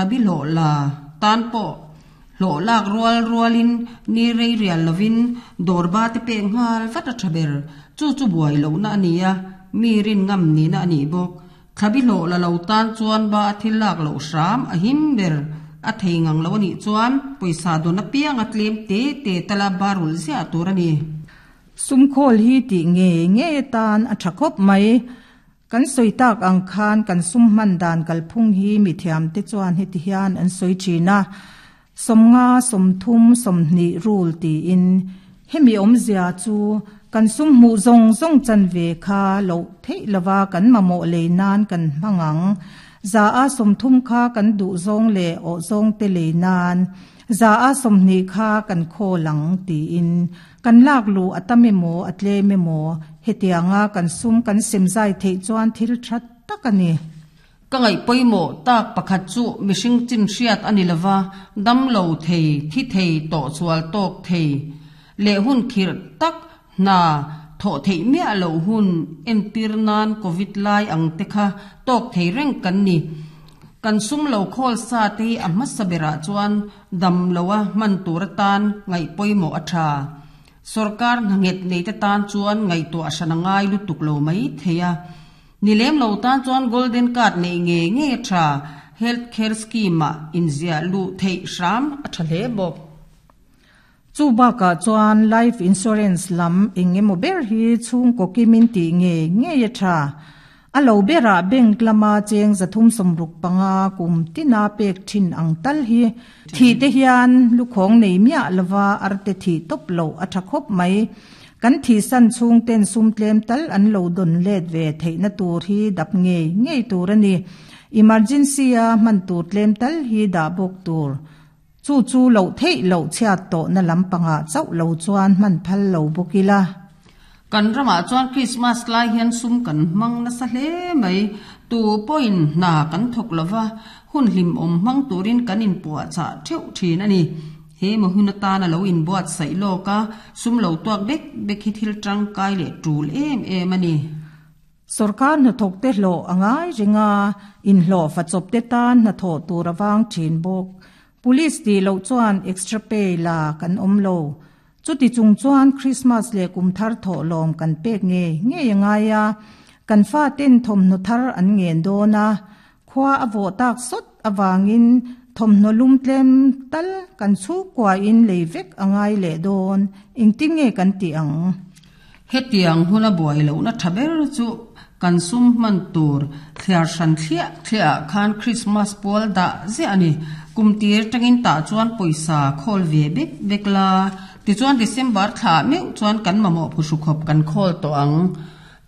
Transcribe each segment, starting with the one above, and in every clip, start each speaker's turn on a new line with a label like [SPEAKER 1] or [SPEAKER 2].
[SPEAKER 1] Abi hlawh la tan pawh hlawh lak rual rualin ni rei rial lovin dawr ba te pek nghal vat a tha ber. Chu chu buai lohna a ni a, mi rin ngam nihna a nih bawk. Thlabi hlawh la lo tan chuan ba a thil lak loh hram a him ber. A thei ngang lo a nih chuan pawisa dawn apiang a tlem te te tala ba rulh ziah tur a ni.
[SPEAKER 2] Sumkhawl hi tih ngei ngei atan a tha khawp mai. Kan sawi tak ang khan kan sum hman dan kalphung hi mithiamte chuan heti hian an sawi thin a, 50, 30, 20 rule tiin. Hemi awmzia chu kan sum hmuh zawng zawng chanve kha loh theih lova kan mamawh lei nan kan hmang ang. 30% kha kan duh zawng leh awh zawngte lei nan, 20% kha kan khawl ang tiin. Kan lak luh a tam emaw a tlem emaw, hetianga kan sum kan sem zai theih chuan thil tha tak a ni.
[SPEAKER 1] Ka ngaih pawimawh tak pakhat chu mihring chin hriat a ni lova, dam lo thei, thi thei, tawhsual tawk thei leh hun khirh tak hna thawh theih miah loh hun entir nan Covid lai ang te kha tawk thei reng kan ni. Kan sum lo khawl sa te hi a hmasa berah chuan Dam loa hman tur atan ngaih pawimawh a tha. Sorkar hna nghet neite tan chuan ngaihtuah hran a ngai lutuk lo mai thei a. Ni lem lo tan chuan Golden Card neih ngei ngei a tha. Health Care Scheme-ah inziah luh theih hram a tha hle bawk.
[SPEAKER 2] Chu bakah chuan Life Insurance lam eng emaw ber hi chhungkaw kimin tih ngei ngei a tha. A lo berah bank lama cheng 365 kum tina pek thin ang tal hi thih te hian lukhawng nei miah lova arte thih tawp loh a tha khawp mai. Kan thihsan chhung ten sum tlem tal an lo dawn let ve theihna tur hi dap ngei ngei tur a ni. Emergency a hman tur tlem tal hi dah bawk tur. Chu chu loh theih loh chhiat tawhna lampangah chauh lo chuan hman phal lo bawk ila.
[SPEAKER 1] Kan ramah chuan Krismas lai hian sum kan hmang nasa hle mai. Tu pawhin hna kan thawk lo va, hun hlimawm hmang turin kan inpuahchah theuh thin a ni. He maw hun atana lo inbuatsaih lawk a, sum lo tuak bek bek hi thil tangkai leh tul em em a ni.
[SPEAKER 2] Sorkar hnathawkte hlawh a ngai reng a, inhlawhfa chawpte tan hnathawh tur a vang thin bawk. Police tih loh chuan extra pay la kan awm lo. Chuti chung chuan Christmas leh kum thar thawhlawm kan pek ngei ngei a ngai a, kan faten thawmhnaw thar an ngen dawn a, khua a vawh tak sawt avangin thawmhnaw lum tlem tal kan chhungkuain lei vek a ngai leh dawn, engtin nge kan tih ang?
[SPEAKER 1] Hetiang huna buai lohna tha ber chu kan sum hman tur thliar hran thliah thliah ah khan Christmas pual dah ziah a ni. Kum tir tangin tah chuan pawisa khawl ve bek bek la, tichuan December thla ah meuh chuan kan mamawh phuhru khawp kan khawl tawh ang.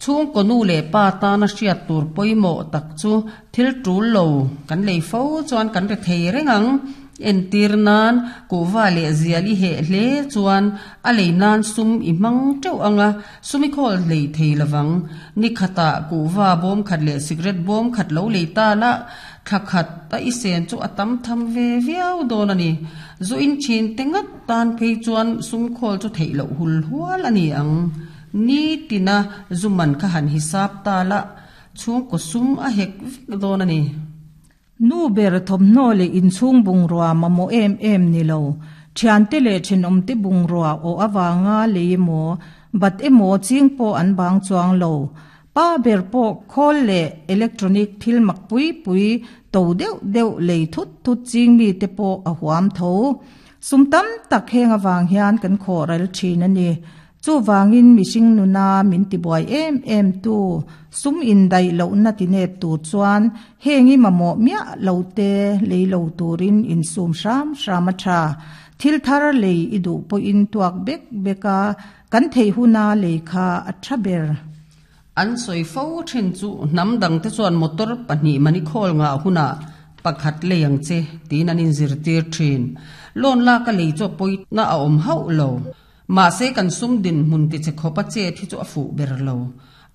[SPEAKER 1] Chhungkaw nu leh pa tana hriat tur pawimawh tak chu thil tul lo kan lei fo chuan kan ri thei reng ang. Entir nan kuhva leh zial i heh hle chuan a lei nan sum i hmang teuh ang a, sum i khawl hlei thei lovang. Ni khatah kuhva bawm khat leh cigarette bawm khat lo lei ta la, thla khat a i sen chu a tam tham ve viau dawn a ni. Zu in thin te ngat tan phei chuan sum khawl chu theih loh hul hual a ni ang. Ni tina zu man kha han hisap ta la, chhungkaw sum a hek vek dawn a ni.
[SPEAKER 2] Nu ber thawmhnaw leh inchhung bungrua mamawh em em ni lo. Thiante leh thenawmte bungrua awh avanga lei emaw, bat emaw ching pawh an bang chuang lo. Pa ber pawh khawl leh electronic thil mak pui pui to deuh deuh lei thut thut ching mite pawh a huam tho. Sum tam tak heng avang hian kan khawh ral thin a ni. Chuvangin mihring nuna min tibuai em em tu, sum indaih lohna tinep tur chuan heng i mamawh miah lo te lei lo turin insum hram hram a tha. Thil thar lei i duh pawhin tuak bek bek a, kan theih huna lei kha a tha ber.
[SPEAKER 1] An sawi fo thin chu hnam dangte chuan motor pahnih mani khawl ngah hunah pakhat lei ang che tiin an inzirtir thin. Loan lak a lei chu a pawina a awm hauh lo. Mahse kan sum dinhmun ti che khawp a chet hi chu a fuh ber lo.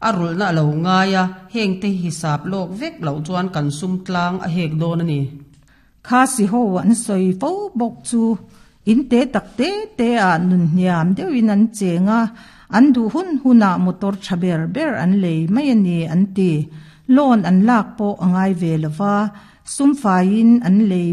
[SPEAKER 1] A rulhna a lo ngai a, hengte hi hisap lawk vek loh chuan kan sum tlang a hek dawn a ni.
[SPEAKER 2] Kha si ho an sawi fo bawk chu in te tak te te ah nun hniam deuhin an cheng a, an duh hun hunah motor tha ber ber an lei mai a ni an ti. Loan an lak pawh a ngai ve lova, sum faiin an lei.